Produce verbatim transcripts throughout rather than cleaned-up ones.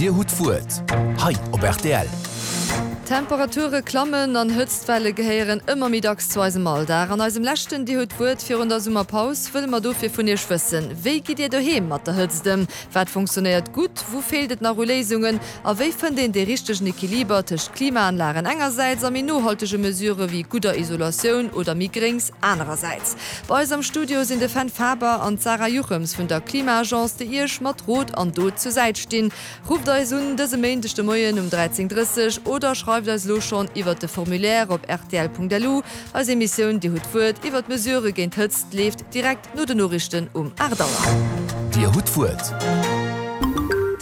Dir hutt d'Wuert. Hei op R T L. Temperature klammen an Hëtztwelle gehéieren ëmmer méi dacks zu eisem Alldag. An eisem leschten Dir hutt d'Wuert virun der Summerpaus wëlle mer dofir vun Iech wëssen: Wéi gitt Dir doheem mat der Hëtzt ëm? Wat funktionéiert gutt? Wou feelt et nach u Léisungen? A wéi fënnt een de richtegen Equiliber tëscht Klimaanlagen engersäits a méi nohaltege Mesurë wéi gudder Isolatioun oder méi Gréngs anerersäits? Bei eis am Studio sinn de Fenn Faber an d'Sarah Juchems vun der Klima-Agence, déi Iech mat Rot an Dot zur Säit stinn. Rufft eis un dëse Méindeg de Moien um dräizéng dräisseg oder schreift eis lo schonn iwwer de Formulaire op R T L Punkt L U. Eis Emissioun Dir hutt d'Wuert iwwer d'Mesurë géint Hëtzt leeft direkt no den Noriichten um aacht Auer. Dir hutt d'Wuert.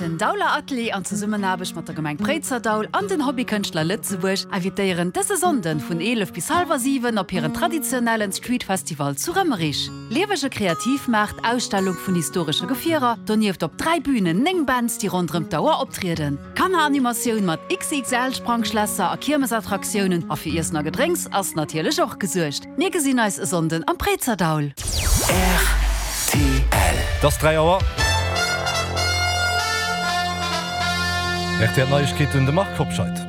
Den Dauler Atelier an Zesummenaarbecht mat der Gemeng Préizerdaul an den Hobbykënschtler Lëtzebuerg invitéieren dëse Sonnden vun eelef bis hallwer siwen op hiren traditionellen Street Festival zu Rëmmerich. Liewege Kreativmaart, Ausstellung vun historesche Gefierer, donieft op dräi Bünen néng Bands, déi ronderëm d'Auer optrieden. Kanneranimatioun mat X X L Sprangschlässer a Kiermesattraktiounen a fir Iessen a Gedrénks ass natierlech och gesuergt. Mir gesinn eis e Sonnden am Préizerdaul. R T L. Et ass dräi Auer. R T L Neiegkeeten, de Marc Hobscheit.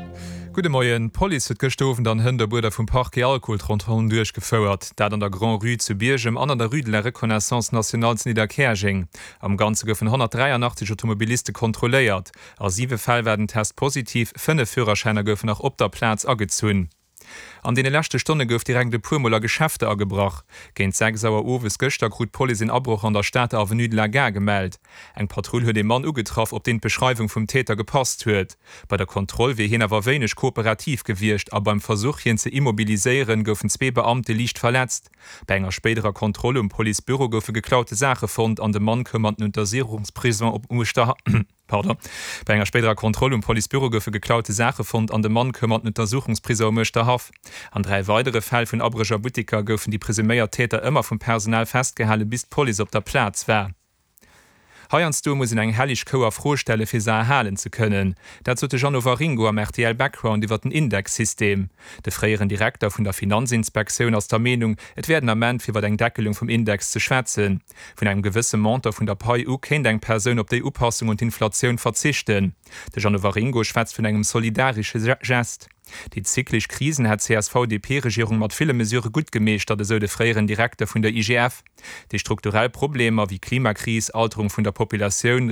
Gudde Moien. D'Police huet gëschter Owend an Hënt op Uerder vum Parquet Alkoholkontrollen duerchgefouert. Dat an der Grand-Rue zu Biergem an an der Rue de la Reconnaissance Nationale zu Nidderkäerjeng. Am Ganze goufen honnertdräianachtzeg Automobiliste kontrolléiert. A siwe Fäll war den Test positiv, fënnef Führerschäiner goufen nach op der Plaz agezunn. An deene leschte Stonne gouf direkt e puer Mol a Geschäfter agebrach. Géint sechs Auer owes gëschter krut d'Police en Abroch an der Stater Avenue de la Gare gemellt. Eng Patrull huet e Mann ugetraff, op deen d'Beschreiwung vum Täter gepasst huet. Bei der Kontroll wier hien awer wéineg kooperativ gewiescht a beim Versuch, hien ze immobiliséieren, goufen zwee Beamte liicht verletzt. Bei enger spéiderer Kontroll um Policebüro goufe geklaute Saache fonnt an de Mann koum an den Untersuchungsprison op Uechter Pardon. Bei enger spéiderer Kontroll um Policebüro goufe geklaute Saache fonnt an de Mann koum an den Untersuchungsprison um Uerschterhaff. An dräi weidere Fäll vun Abréch a Butteker goufen déi presuméiert Täter ëmmer vum Personal festgehale bis d'Police op der Plaz war. Heiansdo muss een eng helleg Kou a Fro stelle fir se erhalen ze kënnen. Dat sot de Jeannot Waringo am R T L Background iwwer den Indexsystem. De fréieren Direkter vun der Finanzinspektioun ass der Meenung, et wär den Ament fir iwwer eng Deckelung vum Index ze schwätzen. Vun engem gewësse Montant vun der Pai u kéint eng Persoun op déi Upassung un d'Inflatioun verzichten. De Jeannot Waringo schwätzt vun engem solidaresche Gest. Déi zyklesch Krisen hätt d'C S V-D P-Regierung mat ville Mesurë gutt gemeeschtert, esou de fréieren Direkter vun der I G F. Déi strukturell Problemer wéi Klimakris, Alterung vun der Populatioun,